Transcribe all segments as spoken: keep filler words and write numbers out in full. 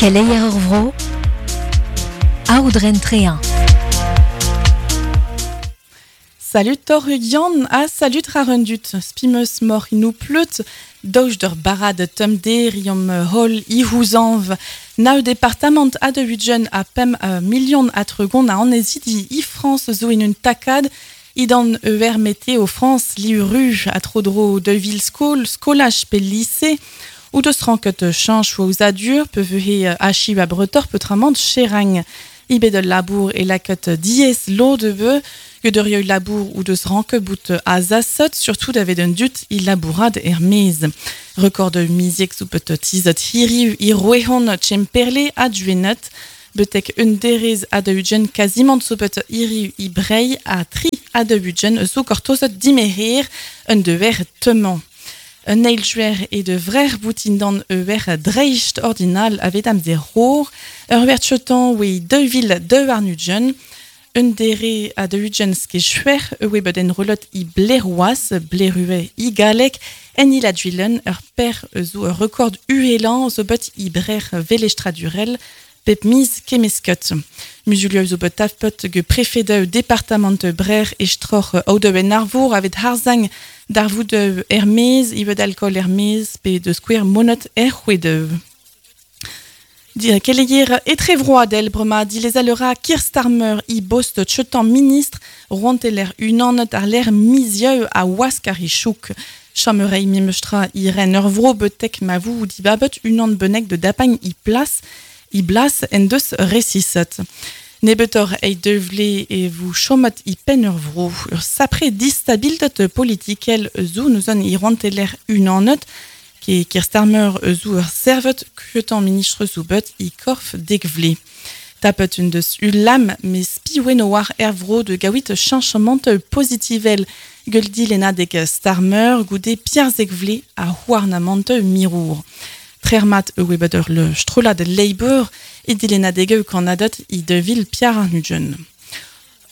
Keleier ur vro, aoudren trean. Salut tor Yann ha salut rarundut. Spimeus mor inou pleut, dauj d'ur barad tum derium hol ihouzanv. Nao departement a de hujen a pem uh, million a tregon a anezidi i France zo in un takad idan eur météo France li ru a trodro de vil skol, skolaj pe lycée ou deus ranket chanch ou adur pe vehe achi a bretor peutramant cherang. Ibe de labour e laket diez lo de beu, Guderieu labour ou deus ranke bout a zasot, surtout davet un dut il labourad er mez. Record de miziek zo bet tizet hiriv i roehon tchemperle a duenet, betek un derez a de ugen quasiment zo bet hiriv i brei a tri a de ugen zo kortozet dimeher un dever teman. Un eil juer e de vrer boutindan eur dreist ordinal avet am ze roor, ur ver chetan oe deux vil deux arnudjen, un dere a de ugen ske chuer oe bet en relot i bleroas, blerue i galek, en il adjuilen ur per zo ur record uhelan zo bet i brer velestradurel pep miz kemesket. Muzulieu zo bet tafpet ge prefedeu departement brer estror audeu en arvour avet harzang darvoudeu ermez, ivet alcool ermez, pe de square monot er c'hwedeu. Keleier etrevroadel brema dilez alera Keir Starmer i bost chetan ministre roanteler unanet ar l'air mizieu a waskar i chouk. Chamerei mimestra i ren ur vro betek ma vou di babet unan benek de dapagn i plas i blas en deus resisset. Nebetor ei devle e vou chomet i pen ur vro. Ur sapre distabiltet politikel zo neus i roanteler unanet ke Keir Starmer zo ur servet kuetan ministre zo bet i korf dekvle. Tapet un deus ulam me spiwen war er vro de gawit chanchement positivel guldi lenadek Starmer goude Pierre Zekvle a houarnamant mirour. Trermat e webet ur le strolad Labour e dilenadeg kanadot i de vil Pierre Arnudjen.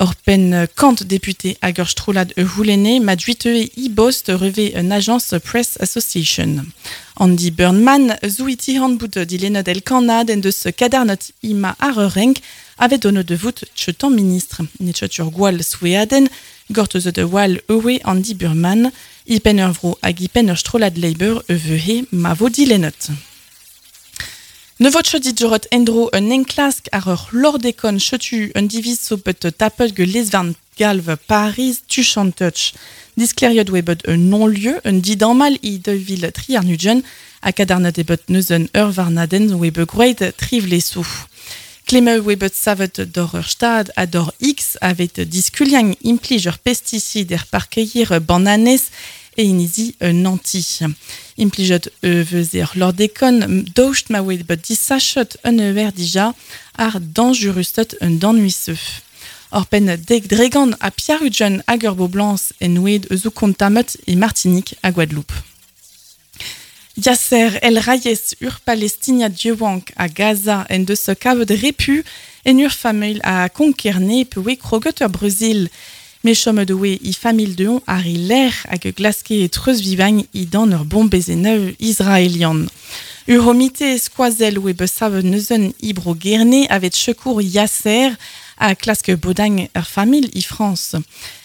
Or pen kant député hag ur strolad e houlene ma duite i bost reve un agence Press Association. Andy Burnman zo iti handbout dilenod el kanad en deus kadarnot ima ar ur renk avet dono de vout chetan ministre. Netchot ur gwall soueaden, gortezo de wall ewe Andy Burman, i pen ur vro hag i pen ur strolad Labour e vehe ma vo dilenot. Ne vot chot dit endro un enklask ar ur lordekon chetu un diviz zo bet tapet ge lesvarn galv Paris tuchant touch. Diskleriot oe bet un non-lieu, un didamal i de vil tri arnudjen, a kadarnat e bet neuzen ur varnaden oe bet groet trivlesou. Klemme oe bet savet d'or ur stad a d'or X avet diskuliang implij ur pesticid er parkeir bananes e inizi un anti. Implijet e veuzer lordekon daoust ma oe bet disachot un euer dija ar danjurustot un danuiseu. Or pen dek dregan a Pierre-Ujen hag ur boblans en oed eus o kontamet e Martinique a Guadeloupe. Yasser El Rayes ur Palestinia dieuank a Gaza en deus kavet repu en ur famil a konkerne pe oe kroget ur Brazil. Me chom de oe i famil deon ar i l'air hag glaske e treuz vivagn i dan ur bombezeneu israelian. Ur homite skoazel oe besavet neuzen i bro gerne avet sekour Yasser a klaske bodagn ur famil i France.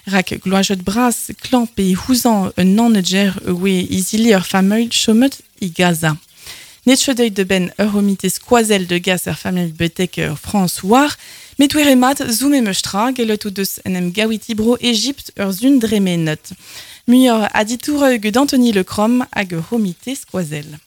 Rak gloajet bras klan pe houzan un nanedjer oe izili ur famil chomet i Gaza. Netchedeuil de ben ur homite skoazel de gas ur famil betek ur France war, met oe remat zo memeustra gelot ou deus en em gawiti bro Egypt ur zun dremenet. Muior aditour eug d'Anthony Lecrom hag ur homite skoazel.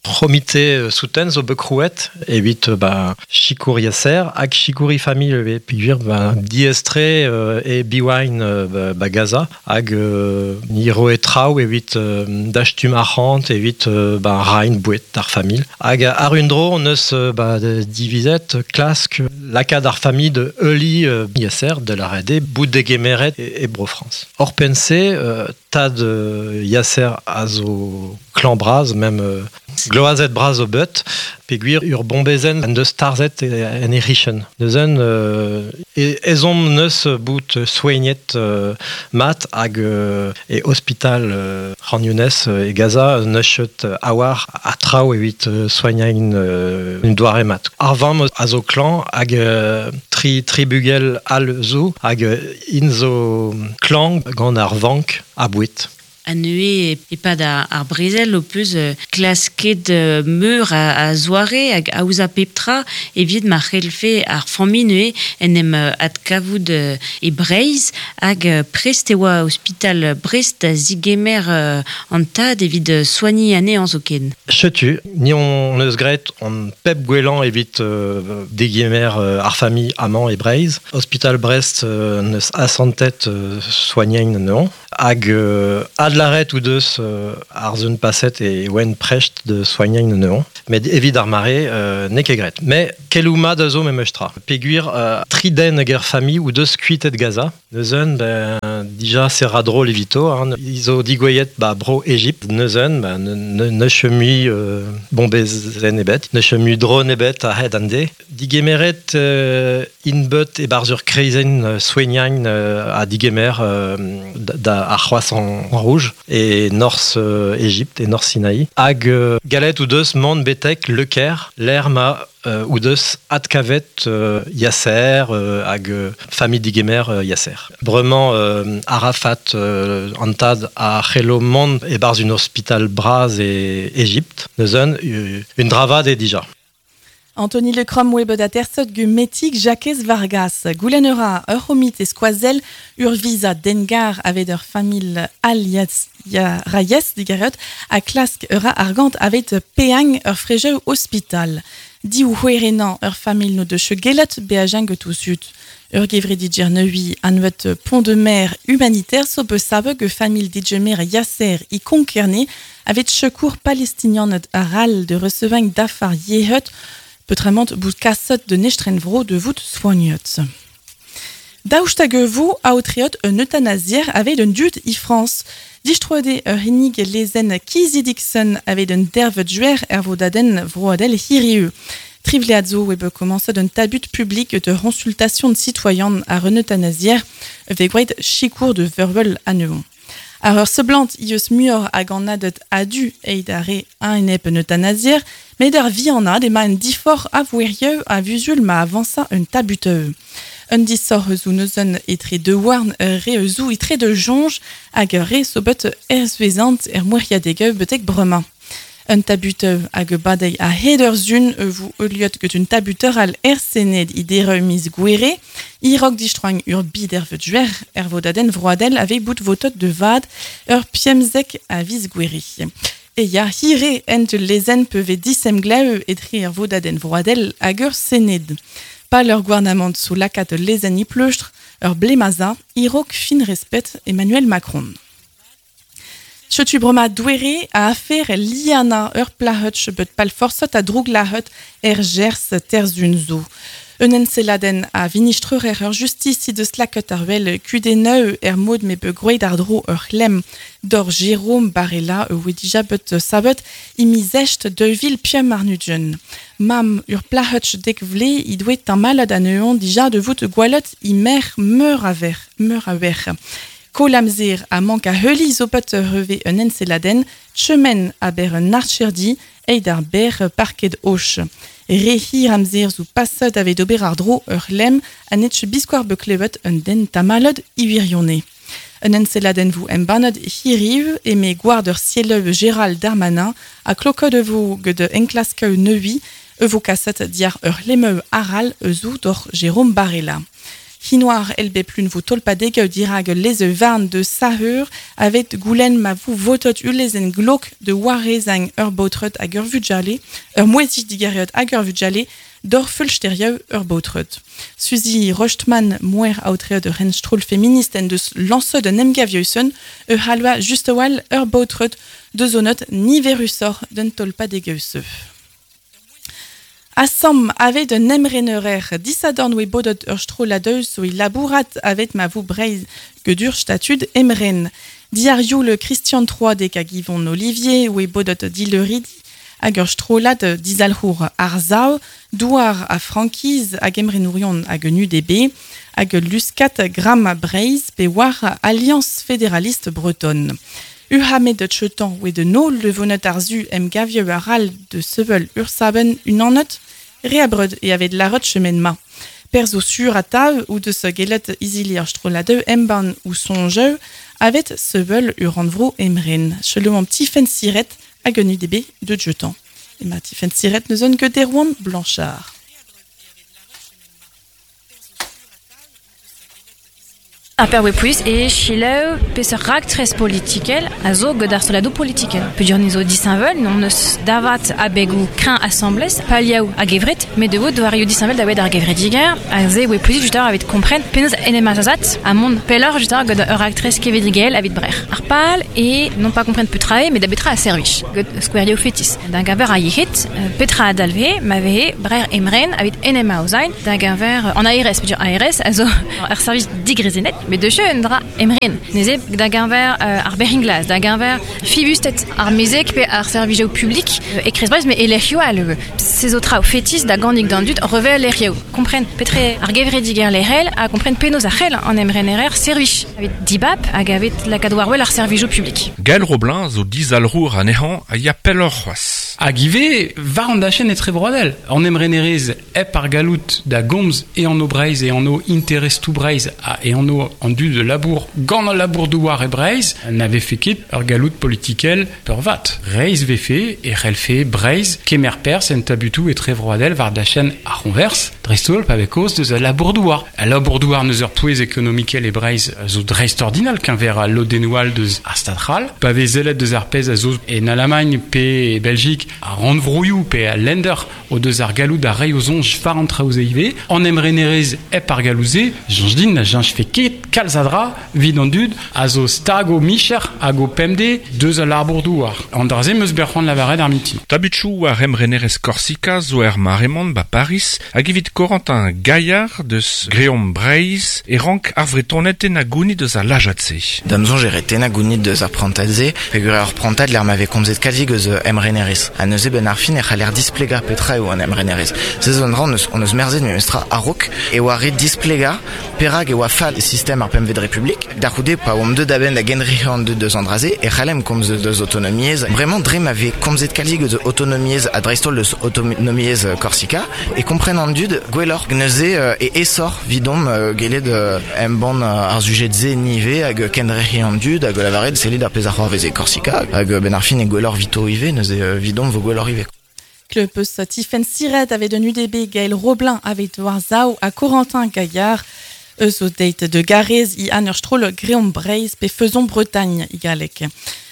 C'homite souten zo bekrouet evit ba Chikour Yasser hag Chikouri famil e pigwir ba diestre euh, e biwain euh, ba Gaza hag euh, ni roe traoù evit euh, dachtum arc'hant evit euh, ba rain bouet ar famil hag ar un dro on eus ba divizet klask lakad ar famil de Euli euh, Yasser de la R D bout de gemeret e, e bro France. Or pense euh, tad euh, Yasser a zo klan braz même euh, Gloazet braz o bet, peogwir ur bombezenn en deus tarzhet en e c'hichen. Neuzen, euh, e, ezhomm neus bout soignet euh, mat hag euh, e ospital euh, Khan Younes e Gaza neus chet a-war a traoù evit euh, soignañ euh, un doare mat. Ar vamm a zo klañv hag euh, tri, tri bugel all zo hag int zo klañv gant ar vank a boued. A neuze e-pad ar, ar brezel ho peus klasket meur a, a zoare hag aozañ pep tra evit ma c'hellfe ar familh neuze en em adkavout e Breizh hag prest e oa ospital Brest da zigemer an tad evit soagniñ anezhañ zoken. Setu, ni hon eus graet hon pep gwellañ evit euh, degemer ar familh amañ e Breizh. Ospital Brest euh, neus asantet euh, soagnañ anezhañ. Hag euh, adlaret ou deus euh, ar zun paset e oen prest de soignañ anezhañ. Met evit ar mare euh, n'eo ket graet. Met keloù mat a zo memes tra. Peogwir euh, tri den hag er familh ou deus kuitet Gaza. Neuzen, ben, dija se ra drol evito, hein. I zo digouezhet ba bro Ejipt. Neuzen, ben, ne, ne mui euh, bombezenn ebet, ne mui drone ebet a-hed an deiz. Digemeret euh, int bet e-barzh ur kreizenn euh, soignañ euh, a digemer euh, da, da ar Croissant Rouge e norzh euh, Ejipt e norzh Sinaï. Hag euh, gallet o deus mont betek Le Caire, lec'h ma euh, o deus adkavet euh, Yasser euh, hag euh, familh digemer euh, Yasser. Bremañ euh, Arafat euh, an tad a c'hello mont e-barzh un ospital bras e Ejipt. Neuzen, un dra vat eo dija. Anthony Le Crom oa bet aterset get Metig Jakez Vargas. Goulenn a ra ur c'homite skoazell ur viza dengar aveit ur familh Al ya Rayes digaret a klask ur argant aveit paeañ ur frejoù ospital. Div c'houerennañ ur familh n'o deus gellet beajañ get o zud. Ur gevredigezh nevez anvet Pont de Mer humanitaire zo bet savet get familh digemer Yasser e Konk-Kerne aveit sikour Palestinianed arall de resevañ dafar yec'hed peotramant bout kaset d'un estrenvro de vout soignet. Daoust hag e vo aotreet un eutanasier aveit an dud e Frañs. Distroet eo ur c'hinnig lezenn kizidik-sen aveit un deirvet gwer er vodadenn vroadel hiriv. Tri vlead zo eo bet komañset un tabut publik de c'hoñsultasion sitoaian àr un eutanasier vez gwraet sikour de vervel anezhoñ. Àr ur seblant eh eus muioc'h a gannaded a-du eit ar re a-enep un eutanasier, met àr vihanaat emañ an diforc'h a vouezhioù a-vuzul ma avañsa an tabutoù. Un disoc'h zo neuzen etre daouarn ur re zo etre daou soñj hag ur re zo bet erzvezant er mouezhiadegoù betek bremañ. Un tabutoù hag badei a-hed ur sizhun vo heuliet get un tabuter all er Sened e deroù miz Gouere, e-raok distroiñ ur bedervet gwer er vodadenn vroadel aveit bout votet da vat er pemzek a viz Gouere. E ya hir eo hent ul lezenn pe vez disemglev etre er vodadenn vroadel hag ur Sened. Pal ur gouarnamant zo lakaat ul lezenn e pleustr ur blez ma za, e-raok fin respet Emmanuel Macron. Setu bremañ doere a afer Liana ur plac'h bet palforset ha drouglazhet er Gers teir sizhun zo. Un enselladenn a vinistrer ur justis he deus lakaet àr wel kudennoù er mod m'eo bet gwraet àr-dro ur c'hlemm doc'h Jérôme Barella e oa dija bet savet e miz East daou vil pemp warn-ugent. Mamm ur plac'h dek vloaz he doa tamallet anezhañ dija de vout gwallet he merc'h meur a wech, meur a wech. Koll amzer ha mank a heuli zo bet hervez un enselladenn, tremen aber un archerdi eit ar ber parked och. Re hir amzer zo paset aveit ober àr-dro ur c'hlemm ha n'eo ket biskoazh bet klevet un den tamallet e wirionez. Un enselladenn vo embannet hiriv eme gward ur sielloù Gérald Darmanin ha klokaet e vo get enklaskoù nevez e vo kaset diàr ur c'hlemmoù arall zo doc'h Jérôme Barella. Hinoazh èl bep lun vo tolpadegoù dirak ul lez-varn de Sahur aveit goulenn ma vo votet ul lezenn glok de warezañ ur baotred hag ur vugale, ur mouezhig digareet hag ur vugale, doc'h feulsterioù ur baotred. Suzy Rojtman mouer aotreet ur c'henstroll feminist en deus lañset un emgav yoù-sen e c'halva just a-walc'h ur baotred de zonet niverusoc'h d'an tolpadegoù-se. Asambl aveit un emrenerezh disadorn oe bodet ur strollad zo é labourat aveit ma vo Breizh get ur statud emren. Diàr youl Christian Troadec hag Yvon Ollivier oe bodet dileuridi hag ur strollad dizalc'hour ar Zao, douar a frankiz hag emrenourion hag un U D B, hag luskat Gram Breizh pe war Alliance Fédéraliste Bretonne. Uhamet de chetan oe de no levonet ar zu em gavieu ar al de sevel ursaben unanot, reabreud e avet larot chemen ma. Perzo sur a tav ou de se gelet izili ar strollad emban ou sonjeu avet sevel uranvro emren. Chelou an petit fen siret hag un U D B de jetan. E ma tifen siret ne zon que Derwan Blanchard. Ar per plus e chileu peseurt raktres politikel a zo gant ar strolladoù politikel. Peogwir ni zo disheñvel, n'on eus davat abegoù kreñv asambles, paliaou hag evret, met devo doarioù disheñvel da wet ar gevrediger, a ze oe plus just avit kompren penaos en em azazat a mont pelloc'h just gant ur raktres kevedigel avit brec'h. Ar pal e non pas kompren petra eo, met da betra a servij, gant skouerioù fetis. D'un gaver a yec'hed, petra a dalve, ma vehe brec'h emren avit en em aozain, d'un gaver an A R S, peogwir A R S a zo ar servij digrezenet, met de jeu un dra emren. Neze da gaver euh, ar beringlaz, da gaver fibustet ar mezek pe ar servijou publik euh, e krez brez, me elec'hio al ces autres fetis da gandik d'an dud revel lec'hio. Kompren petre ar gevrediger lec'hel a kompren penaos ar c'hell an emrenerer servij. Avit dibap hag avet lakaat war wel ar servijou publik. Gaël Roblin zo dizalrour anezhañ a ya pelloc'h c'hoazh. Hag ivez war an dachenn etre vroadel. An emrenerez hep ar galout da gomz e an o Breizh e an o interestoù Breizh a e an o an dud de labour gant al labour douar e Breizh n'ave fait ket ur galout politikel peurvat. Reizh vefe e c'hellfe Breizh kemer perzh en tabutou etre vroadel war dachenn ar c'honvers dreist-holl pa vez kaoz deus al labour douar. Al labour douar neus ur pouez ekonomikel e Breizh zo dreist-ordinal keñver al lodennoù all deus ar Stad c'hall. Pa vez zellet deus ar pezh a zo en Allemagne pe e Belgique a rannvroioù pe a Länder o deus ar galout da reiñ o soñj war an traoù ze ivez. An emrenerez hep ar galoù-se, soñj din na jañj fe ket kalz a dra vid an dud a zo stag o micher hag o pemde deus al labour douar. An dra-se meus bet c'hoant lavaret ar mintin. Tabuchoù ar emrenerez Korsika zo er maremont ba Paris hag evit Corentin Gaillard deus Greom Breizh e rank ar Vretoned na gounid deus ar lajad-se. Da'm soñj e ret na gounid deus ar prantad-se, peogwir ar prantad l'er m'ave komzet kalzik eus emrenerez. Ha neuze ben ar fin e c'haller displegañ petra eo an emrenerez. Se zo an dra on eus, on eus merzet memestra a-raok e oa ret displegañ perak e oa fall sistem ar pemvet Republik. Da c'houde pa oamp deut a-benn da genriñ an deut deus an dra-se e c'hallem komz deus autonomiezh. Bremañ dre ma vez komzet kalzik eus autonomiezh ha dreist-holl deus autonomiezh Korsika e kompren an dud gwelloc'h neuze e esor vidomp gellet embann ar sujet-se nive hag kenrec'hiñ an dud hag lavaret sellit ar pezh a c'hoarvez e Korsika hag ben ar fin e gwelloc'h vito ivez neuze vidomp vo gwelloc'h ivez. Klevet peus Tifenn Siret avait un U D B Gaël Roblin avait war Zao ha Corentin Gaillard eus o deit de Garez i an ur stroll Greom Breizh pe Faisons Bretagne i galleg.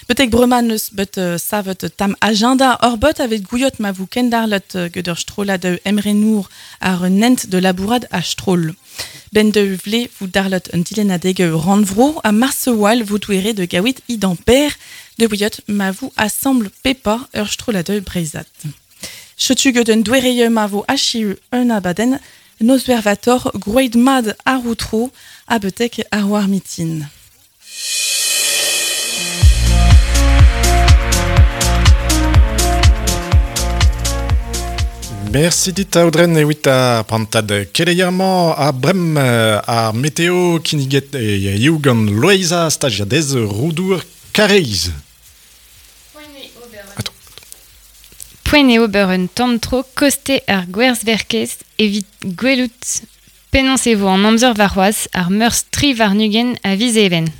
Betek bremañ eus bet uh, savet tam agenda ur bot avet gouiot ma vou kendarlet get ur strollad emrenour ar un hent de labourad a stroll. Ben de vle vou darlet un dilennadeg rannvro a marsewal vou touere de gawit i d'amper de gouiot ma vou assemble pepa ur strollad breizhat. Chetu get un douereie ma vo achiu un abaden nos vervator groid mad ar outro a betek ar war mitin. Merci dit Audren ewit ar prantad keleier-mañ a brem ar meteo kinniget e ioù gant Loeiza stagiadez Roudour Kareiz. Poent eo ober un tamm-tro koste ar gwerzverkez evit gwelout penaos e vo an amzer warc'hoazh ar meurzh tri warn-ugent a viz Even.